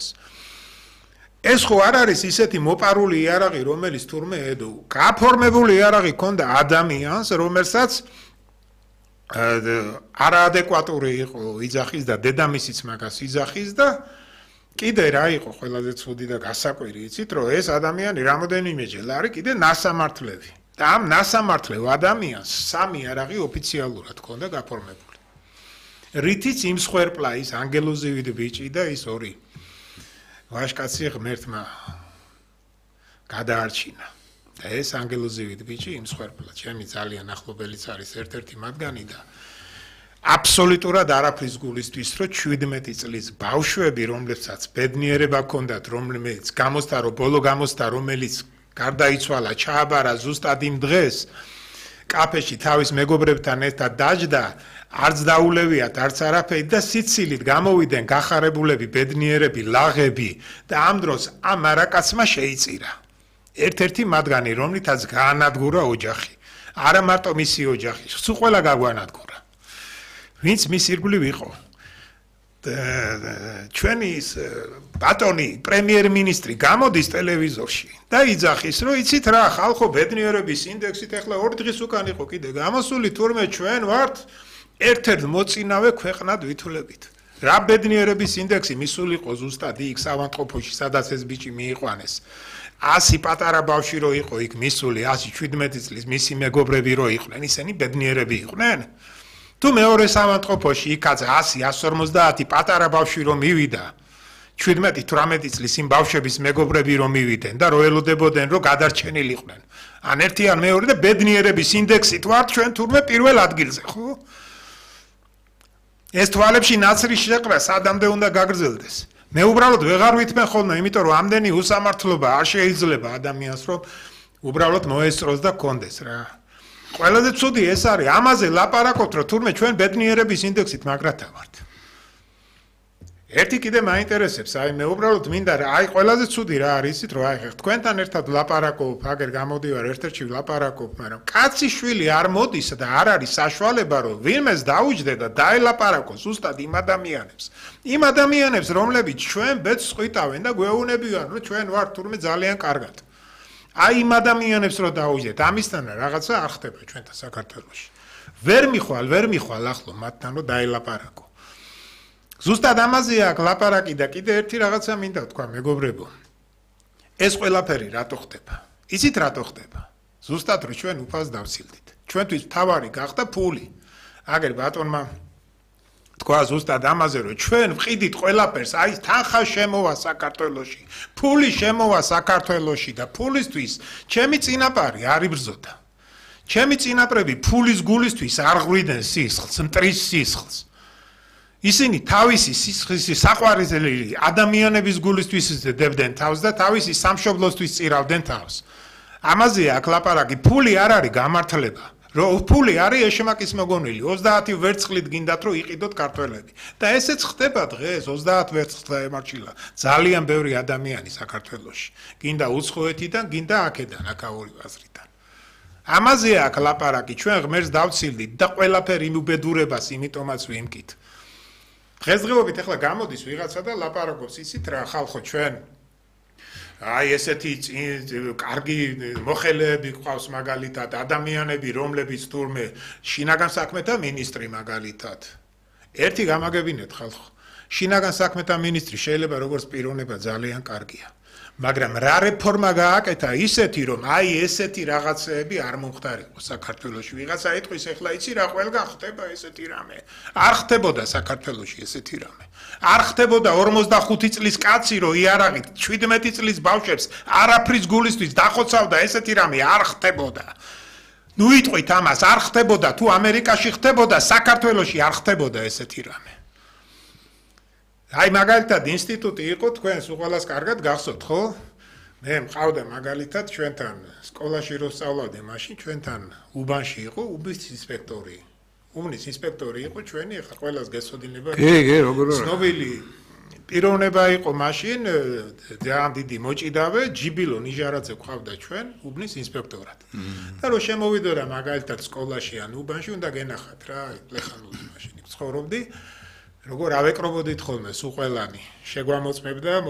იქონდეს. ეს ხო არ არის ისეთი მოპარული იარაღი, რომელიც თურმე გაფორმებული იარაღი ქონდა ადამიანს, რომელსაც არაადეკვატური იყო იძახის და დედამისიც მაგას იძახის და კიდე რა იყო ყველაზე ცუდი და გასაკვირი იცით რომ ეს ადამიანი რამოდენიმეჯერ არის კიდე ნასამართლევი და ამ ნასამართლევ ადამიანს სამი იარაღი ოფიციალურად ქონდა გაფორმებული. რითიც იმ სხვერპლა ის ანგელოზივით ბიჭი და ის ორი ვაშკაცი ღმერთმა გადაარჩინა. და ეს ანგელოზივით ბიჭი იმ სხვერპლა ჩემი ძალიან ახლობელიც არის ერთ-ერთი მათგანი და აბსოლუტურად არაფრის გულისთვის რომ 17 წლის ბავშვები რომლებსაც ბედნიერება ჰქონდათ რომელიც ბოლო გამოსდა რომელიც გარდაიცვალა ჩააბარა ზუსტად იმ დღეს კაფეში თავის მეგობრებთან ერთად დაჯდა არც დაულევიათ არც არაფერი და სიცილით გამოვიდნენ გახარებულები ბედნიერები ლაღები და ამ დროს ამ მარაკაცმა შეიწირა ერთ-ერთი მათგანი რომლითაც გაანადგურა ოჯახი არა მარტო მისი ოჯახი სულ ყველა გაგვანადგურა ვინც მის ირგვლივ იყო ჩვენი ბატონი პრემიერ-მინისტრი გამოდის ტელევიზორში და იძახის რომ იცით რა ხალხო ბედნიერების ინდექსით ახლა 2 დღის უკან იყო კიდე გამოსული თურმე ჩვენ ვართ ერთ-ერთ მოწინავე ქვეყნად ვითვლებით რა ბედნიერების ინდექსი მისული იყო ზუსტად იქ ავადმყოფოში სადაც ეს ბიჭი მიიყვანეს 100 პატარა ბავშვი რო იყო იქ მისული 117 წლის მისი მეგობრები რო იყვნენ ისინი ბედნიერები იყვნენ თუ მეორე ავადმყოფოში იქაც 100-150 პატარა ბავშვი რომ მივიდა 17-18 წლის იმ ბავშვების მეგობრები რომ მივიდნენ და რო ელოდებოდნენ რომ გადარჩენილიყვნენ ან ერთი ან მეორე და ბედნიერების ინდექსით ვართ ჩვენ თურმე პირველ ადგილზე ხო ეს თვალებში ნაცრის შეყრა სადამდე უნდა გაგრძელდეს მე უბრალოდ ვეღარ ვითმენ ხოლმე იმიტომ რომ ამდენი უსამართლობა არ შეიძლება ადამიანს რომ უბრალოდ მოესწროს და კონდეს რა ყველაზე ცუდი ეს არის ამაზე ლაპარაკობთ რომ თურმე ჩვენ ბედნიერების ინდექსით მაგრათა ვართ ერთი კიდე მაინტერესებს აი მე უბრალოდ მინდა რა აი ყველაზე ცუდი რა არის იცით რომ აი თქვენთან ერთად ლაპარაკობ აგერ გამოდივარ ერთ-ერთში ლაპარაკობ მაგრამ კაცი შვილი არ მოდის და არ არის საშუალება რომ ვინმეს დაუჯდე და დაელაპარაკოს ზუსტად იმ ადამიანებს რომლებიც ჩვენ ბედს ყვითავენ და გვეუბნებიან რომ ჩვენ ვართ თურმე ძალიან კარგად აი იმ ადამიანებს რო დაუჯდეთ ამისთან რაღაცა არ ხდება ჩვენთან საქართველოში ვერ მიხვალ ახლო მათთან რომ დაელაპარაკო ზუსტად ამაზე აქ ლაპარაკი და კიდე ერთი რაღაცა მინდა თქვა მეგობრებო ეს ყველაფერი რატო ხდება იცით რატო ხდება ზუსტად რომ ჩვენ უფალს დავცილდით ჩვენთვის თავარი გახდა ფული აგერ ბატონმა თქვა ზუსტად ამაზე რომ ჩვენ ვყიდით ყველაფერს აი თანხა შემოვა საქართველოში ფული შემოვა საქართველოში და ფულისთვის ჩემი წინაპარი არ იბრძოდა ჩემი წინაპრები ფულის გულისთვის არ ღვიდნენ სისხლს მტრის სისხლს ისინი თავისი სისხლის საყვარელი ადამიანების გულისთვის დებდნენ თავს და თავისი სამშობლოსთვის წირავდნენ თავს ამაზე აქ ლაპარაკი ფული არ არის გამართლება რომ ფული არის ეშმაკის მოგონილი 30 ვერცხლით გინდათ რომ იყიდოთ ქართველები და ესეც ხდება დღეს 30 ვერცხლს ემარჩილა ძალიან ბევრი ადამიანი საქართველოში გინდა უცხოეთიდან გინდა აქედან აქაური აზრიდან ამაზე აქ ლაპარაკი ჩვენ ღმერთს დავცილდით და ყველაფერი უბედურებას იმიტომაც ვიმკით დღესდღეობით ახლა გამოდის ვიღაცა და ლაპარაკობს იცით რა ხალხო ჩვენ აი ესეთი კარგი მოხელეები ყავს მაგალითად ადამიანები რომლებიც თურმე შინაგან საქმეთა მინისტრი მაგალითად ერთი გამაგებინეთ ხალხო შინაგან საქმეთა მინისტრი შეიძლება როგორც პიროვნება ძალიან კარგია მაგრამ რა რეფორმა გააკეთა ისეთი რომ აი ესეთი რაღაცეები არ მომხდარიყო საქართველოში ვიღაცა ეთქვის ახლა იცი რა ყველგან ხდება ესეთი რამე არ ხდებოდა საქართველოში ესეთი რამე არ ხდებოდა 45 წლის კაცი რომ იარაღით 17 წლის ბავშვებს არაფრის გულისთვის დახოცავდა ესეთი რამე არ ხდებოდა ნუ იტყვით ამას არ ხდებოდა თუ ამერიკაში ხდებოდა საქართველოში არ ხდებოდა ესეთი რამე აი მაგალითად ინსტიტუტი იყო თქვენს უყოლას კარგად გახსოვთ ხო? მე მყავდა მაგალითად ჩვენთან სკოლაში რო სწავლავდი მაშინ ჩვენთან უბანში იყო უბის ინსპექტორი. უბნის ინსპექტორი იყო ჩვენი ახლა ყველას გესოდინება. კი, როგორ არა. ცნობილი პიროვნება იყო მაშინ ძალიან დიდი მოჭიდავე ჯიბილო ნიჟარაძე ყავდა ჩვენ უბნის ინსპექტორად. და რო შემოვიდოდა მაგალითად სკოლაში ან უბანში უნდა გენახათ რა ლეხანური მაშინ ცხოვრობდი. როგორ ავეკრობოდით ხოლმე სულ ყველანი შეგვამოწმებდა